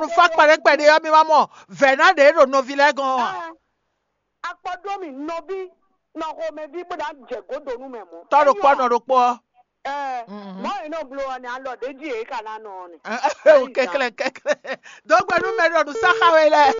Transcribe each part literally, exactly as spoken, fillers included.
Fá kpɛɖé kpɛɖé ɔ́, mi ma mɔ vɛ̌ ná ɖě ɖo nɔví lɛ́ɛ gɔ́n ɔ́ a? Akpɔ ɖó mì nɔví nɔ xomɛví bó ná jɛ gǒdo nú mɛ mɔ̌. Tɔ́ ɖokpó nɔ ɖokpó ɔ́. Ɛɛ, mɔ̌ e nɔ bló ɔ́ nɛ alɔ ɖě jí yě ka ná nɔ ɔ́ nɛ. Kɛklɛ kɛklɛ. Dǒ gbe nú mɛ ɖɔ nǔ sá xá we lɛ́ɛ.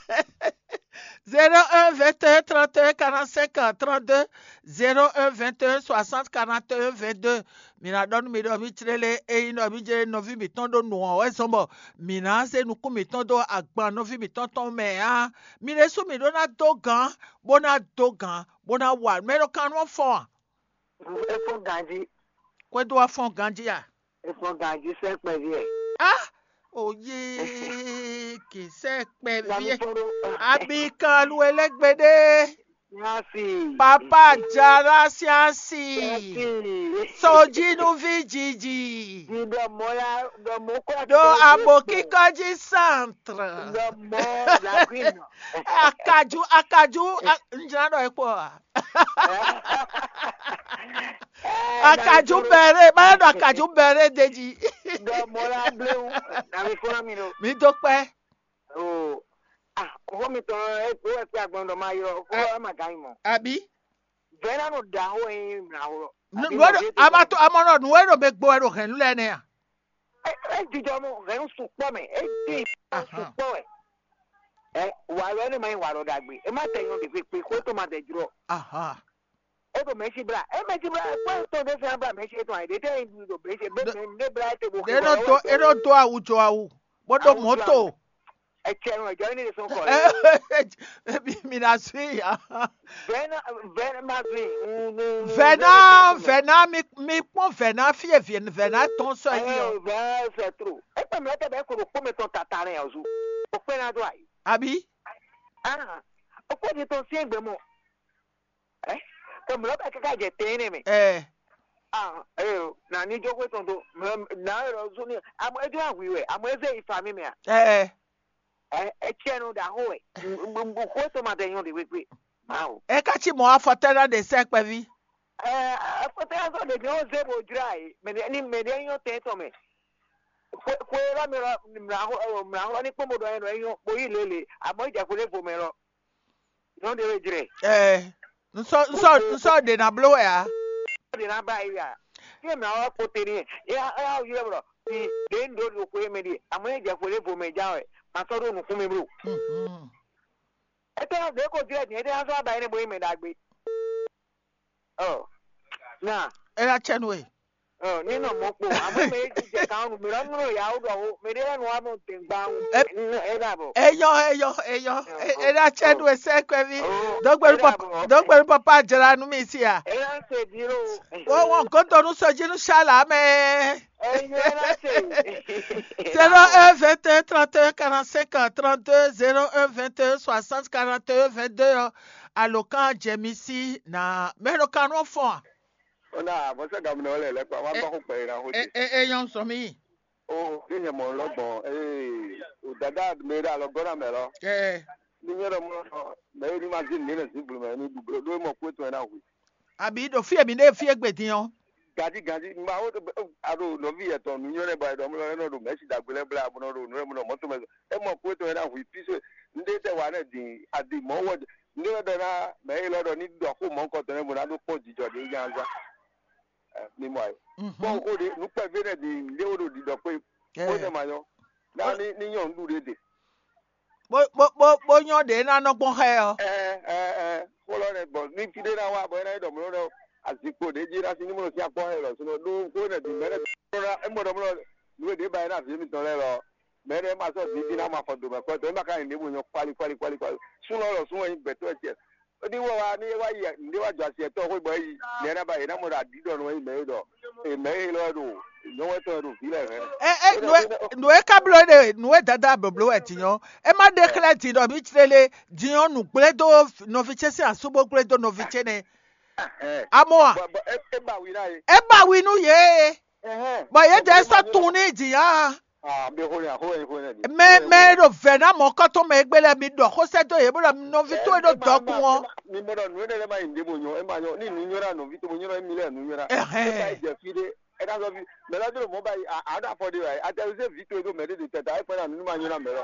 Zéro un vingt et un trente et un quarante-cinq trente-deux, zéro un vingt et un soixante quarante et un vingt-deux. Mi ná ɖɔ nú mi ɖɔ mì clélé ényí ɖɔ mì jɛ nɔví mǐtɔn ɖó nǔ ɔ́ wɛ zɔ́n bɔ mǐ ná zé nukún mǐtɔn dó agban nɔví mǐtɔn tɔn mɛ ǎ. Mi ɖésú mǐ ɖó ná dó gǎn, bó ná dó gǎn, bó ná wa nǔ e nɔ kan nú ɔ́ fɔ́n a? É fɔ́n ganjí. Kwɛ́ dó wá fɔ́n ganjí a? É fɔ́n ganjí sɛ́ kpɛví ɛ. Á, òye kì í sɛ́ kpɛví ɛ. Abikalu elégbédé. Nyasi. Papa Jara Siansi. Nyasi. Sojinu Vijiji. Ɖɔ mɔ ya, ɖɔ mɔ kɔ. Ɖo abo kíkɔ jí centre. Ɖɔ mɔ la green. Akaju, akaju, a- n jira ɖɔ ekpɔ a. Akaju bɛrɛ, ma ɖɔ akaju bɛrɛ de jí. Ɖɔ mɔ la blewu. Na mi fɔlɔ mi ɖo. Mi do kpɛ. O, ah, xó mitɔn ɛ kó ɛ kpé agbɔn ɖɔ ma ylɔ xó ɛ ma gán yi mɔ. Abi. Vɛ̌ ná nɔ ɖa xó ɛ nyí mla xó lɔ. Nǔ ɛ ɖo ama tó ama nɔ nǔ ɛ ɖo mɛ gbo ɛ ɖo hɛ̌nnu lɛ́ɛ nɛ́ a? Ɛ jijɔ mɔ hɛ̌nnu sukpɔ mɛ, ɛ dín sukpɔ wɛ. Ɛ wà lɔ ɛnɛ ma nyí wà lɔ ɖagbe. Ɛ má tɛ nyɔ ɖe kpekpe xó tó ma tɛ jlɔ. Aha. É ɖo mɛ̌si blá. É mɛ̌si blá, kpɔ́n tɔn ɖé fɛ́n blá mɛ̌si étɔn ǎ, ɖě tɛ́ nyi ɖo mɛ̌si, é blá é te bó. Ɖé nɔ dó, é nɔ dó awu jó awu, bó ɖó mɔ̌to. Etsɛ nɔ ɛjɔ ní sɔn kɔ. Mi na sui ya. Vɛna, vɛna ma sui. Vɛna, vɛna mi mi kpɔn vɛna fie vi vɛna tɔn sɔ yi. Vɛna sɛ tro. Ekpɛ mi lɛ tɛ bɛ ko ɖo kpɔmɛ tɔn tata nɛ ɔzu. O kpɛ na do ayi. Abi. Ah, o kpɛ di tɔn si egbe mɔ. Ɛ, tɔ mlɔ bɛ kaka jɛ tɛn ne mɛ. Ɛ. Ah, eyo, na ni jo xwe tɔn do. Na yɔrɔ zun ni. Amɔ ejo awi wɛ, amɔ eze yi fa mi mɛ a. Ɛ. Ɛ, etsɛ nu da xo wɛ. Xo to ma tɛ nyɔ de wekwe. Mawo. Ɛ ka ci mɔ afɔtɛ na de sɛ kpɛvi. Ɛ, afɔtɛ na sɔ de nyɔ ze bo jra yi. Mɛ ni mɛ de nyɔ tɛ tɔ mɛ. Xwe xwe la mi la mla xɔ mla xɔ ni kpɔn bo dɔ nyɔ bo yi lele. Amɔ ija xwe le vo mɛ lɔ. Nyɔnu ɖé wɛ jlɛ. Ɛɛ, nsɔ nsɔ nsɔ ɖe na bló wɛ a? Ɖe na ba yi a? Fí e mɛ awa kpo te ni e ya ya ylɔ blɔ fi ɖe n ɖo ɖo xwe mɛ ɖi amɔ e jɛ xwe ɖe vo mɛ ja wɛ ma sɔ ɖo nukún mi blo. Etɛ na ɖe ko jlɛ din etɛ na sɔ ba yi ne bo yi mɛ ɖagbe. Ɔ, na. E na cɛ nu e. Ɔ, ní nɔ mɔ kpo, àmọ́ mɛ é jijɛ kan nù, mɛ lɔ nɔ yà wó ɖɔ wó, mɛ ɖé lɛ nɔ wá mɔ dɛ̀ngbà wó. Ɛ dà bɔ. Eyɔ eyɔ eyɔ. E na cɛ nu esɛ kpɛvi. Dɔgbɛlu papa dɔgbɛlu papa jra nu mi si a. E na se di lo. Wo wɔn godo nu sɔji nu sala mɛ. Eyɔ e na se. Zéro un vingt et un trente et un quarante-cinq trente-deux, zéro un vingt et un soixante quarante et un vingt-deux ɔ, alokan jɛmisi na mɛ ɖo kan nɔ fɔn a. Ona, mɔsɛ gamuna wale lɛ kpa wa ba ko kpɛ ira ho de. E e nyɔ sɔ mi. O, ke nyɛ mɔ lɔ gbɔn. Ee, o dada me da lɔ gɔna mɛ lɔ. Ee. Ni nyɛ dɔ mɔ lɔ mɛ ni ma zin ne ne zin bulu mɛ ni du blo do mɔ ko to na hu. Abi do fie mi ne fie gbe din o. Gadi gadi ma wo a do nɔvi yɛ tɔn nu nyɔ ne ba dɔ mɔ lɔ ne do mɛ si dagbe lɛ bla bɔ do nu ne mɔ mɔto mɛ. E mɔ ko to na hu piso. Nde tɛ wa ne din adi mɔ wɔ. Nde wɛ dɔ na mɛ yi lɔ dɔ ni dɔ ko mɔ kɔtɔ ne bo na do kpɔ jijɔ de nya za. Mímɔ ayé. Kpɔ́n xó ɖé nukpɛ́vú énɛ́ bǐ ɖé wó ɖo ɖiɖɔ kpé xó énɛ́ ma nyɔ́. Ná ní ní nyɔ̌nu ɖu ɖé ɖe. Bó bó bó bó nyɔ́ ɖě ná nɔ gbɔn xá ɛ ɔ́. Ɛ ɛ ɛ xó lɔ nɛ gbɔn ní fí ɖé ná wá bɔ é ná nyí ɖɔ mló ɖɔ azikpo ɖě jí ná sí ní mló sín akpɔ́ xá ɛ lɔ súnɔ ɖó xó énɛ́ bǐ mɛ énɛ́ bǐ é mɔ ɖɔ mló nǔ e ɖě ba é ná vǐ mitɔn lɛ́ɛ lɔ mɛ énɛ́ ma sɔ́ bǐ jí ná ma fɔ dǒ mɛ kɔ́ tɔn é ma ka nyí ɖěbǔ nyɔ́ kwali kwali kwali kwali súnɔ lɔ sún wɛ nyí gbɛtɔ́ wɛ tiɛ. Ní wɔ wá ní wá yi ní wá jɔ asi ɛtɔ́ xwé bɔ é yi nɛ̌ ná ba yě ná mɔ ɖo aɖǐ ɖɔ nú wɛ yi mɛ é ɖɔ è mɛ é lɔ ɖo nyɔ̌wɛ́ tɔn e ɖo vǐ lɛ́ɛ hɛn. Ɛ ɛ nǔ e nǔ e ka bló ɖe nǔ e dada blǒblǒ wɛ din ɔ́, é má ɖe xlɛ́ din ɖɔ mǐ clé lé din ɔ́ nǔ gblé dó nɔví ce sín asú bó gblé dó nɔví ce nɛ́. Amɔ a? Bɔ bɔ é é ba wi ná ye. É ba wi nú yě. Bɔ yě dɛ sɔ́ tunwun ní din á. Ah, be xo nya xo nya xo nya di. Mɛ mɛ e ɖo vɛ̌ ná mɔ̌kɔ́tɔn mɛ e gbé lɛ́ɛ mi ɖɔ xó sɛ́ dó yě bó ɖɔ nɔví towe ɖo dɔkun ɔ́. Mi mɔ ɖɔ nǔ énɛ́ lɛ́ɛ ma yi nǔɖé bo nyɔ é ma nyɔ ní nǔ nyɔ́ ná nɔví towe nyɔ́ ná émí lɛ́ɛ nǔ nyɔ́ ná. Ɛ bá yi jɛ fí ɖé ɛ ná sɔ́ fí mɛ lɔ́ dó mɔ bá yi a a ɖo afɔ ɖé wɛ a tɛ zé vǐ towe ɖó mɛ ɖé ɖe tɛ ta é kpɛ́ ná nǔ ní ma nyɔ́ ná mɛ lɔ.